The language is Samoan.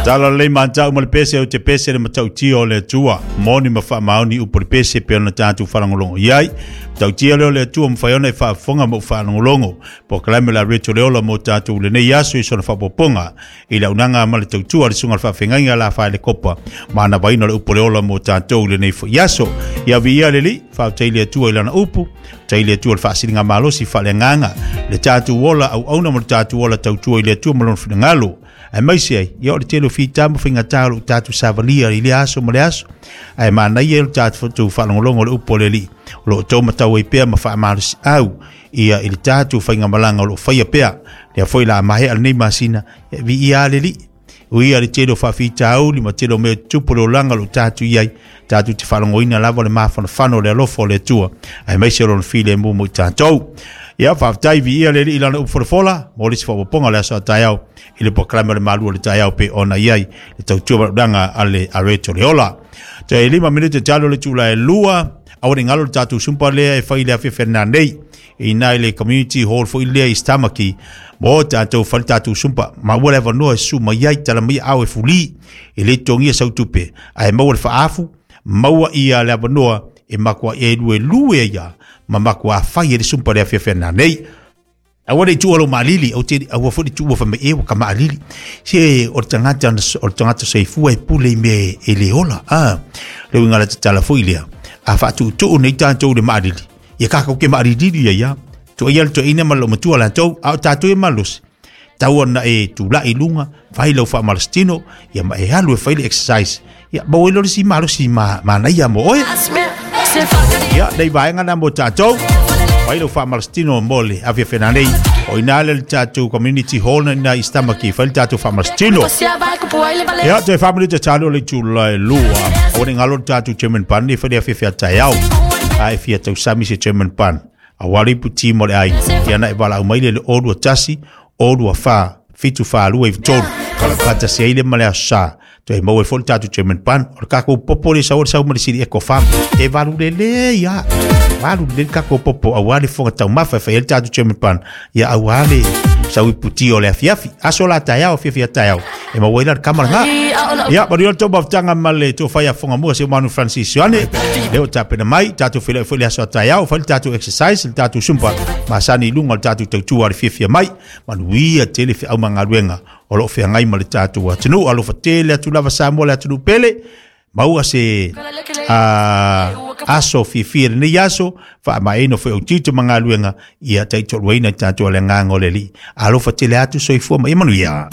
Tala lelei matau ma le pese o te pese le matautia o le Atua. Moni ma faamaoni upu o le pese pe ona tatou faalogologo i ai. Matautia lea o le Atua mafai ona e faafofoga ma ou faalogologo. Polokalame o le Areto le Ola mo tatou lenei aso i sona faaopoopoga i le auaunaga ma le tautua a le susuga i le faafeagaiga la Faelekopa ma anavaina o le upu o le ola mo tatou i lenei foi aso. Ia viia le Alii, faafetai i le Atua i lana upu, faafetai i le Atua i le faasiligamalosi faaleagaga, le tatou ola auauna ma le tatou ola tautua i le Atua ma lona finagalo. Aemaise ai, ia o le tele o fita ma faigata o loo tatou savalia i lea aso ma le aso. Ae manaia le tatou faalogologo o le upu o le Alii, o lo o outou matau ai pea ma faamalosiau ia i le tatou faigamalaga o lo o faia pea. Lea foi la maea lenei masina, e viia lava le Alii. Ui ia le tele o faafitauli ma tele o mea tutupu o le olaga o lo o tatou i ai, tatou te faalogoina lava le mafanafana o le alofa o le Atua, aemaise o lona filemu mo i tatou. Ia, faafetai, viia le Alii i lana upu folafola, mo le isi faaopoopoga o le aso a taeao i le polokalame o le Malu o le Taeao pei ona i ai le tautua valaauina a le Areto le Ola. Toe 5 minute talu o le itula e 2, aua ne i galo le tatou sumpa lea e fai i le afiafi nanei i ina i le community hall foi lea i Stamaki mo tatou fai le tatou sumpa ma ua le avanoa e susu mai ai tala mai ao e fuli e le totogia sau tupe ae maua le faaafu maua ia le avanoa e matua e luelue ai ia ma matua fai e le sumpa le afiafi nanei. Aua ne i tuua lou maalili, ou te, aua foi ne i tuua fai mai, e ua ka maalili. Se o le tagata, o le tagata soifua e pule i mea e le ola. Ah, le uiga la tatala foi lea. A faatuutuu nei tatou i le maalili, ia kākou ke maalilili ia ia. Tuaia le toeaina ma le loomatua latou, a o tatou e malosi. Tau ona e tulai i luga, fai lau faamalositino, ia ma e alu e fai le exercise. Ia, maua ai loa le isi malosi ma, manaia mo oe. Ia, nei vaega na mo tatou. Fai lau faamalositino mo le afiafi nei. O ina le tatou community hall na ina i Stamaki, fai le tatou faamalositino. Ia, toe 4 minute talu o le itula e 2. Aua ne i galo le tatou German bun nei fai le afiafi a taeao. A e fia tausami se German bun. Aua le ipu ti mo le ai. Ia na e valaau mai le 021 024 74 93. Faatasi ai le ma le aso sa. Toe maua ai foi le tatou German bun. O le tatou popo le sau o le sau ma le sili eco farm. E valu lelei lava. Valu lelei le tatou popo aua le fofoga taumafa e fai ai le tatou German bun. Ia aua le sau ipu ti o le afiafi. Aso la taeao, afiafi a taeao. E maua ai la le kama lena. Ia, manuia le tou mafutaga ma le tofa ia Fogamua si o Manu Francis Ioane. Lea ua tapena mai, tatou feiloai foi le aso a taeao, fai le tatou exercise, le tatou zumba, masani i luga o le tatou tautua a le fiafia mai. Manuia tele feau ma galuega o lo o feagai ma le tatou atunuu. Alofa tele atu lava Samoa le atunuu pele. Maua se aso fiafia i lenei aso, faamaeaina foi ou tiute ma galuega, ia taitoaluaina i tatou le agaga o le Alii. Alofa tele atu, soifua ma ia manuia.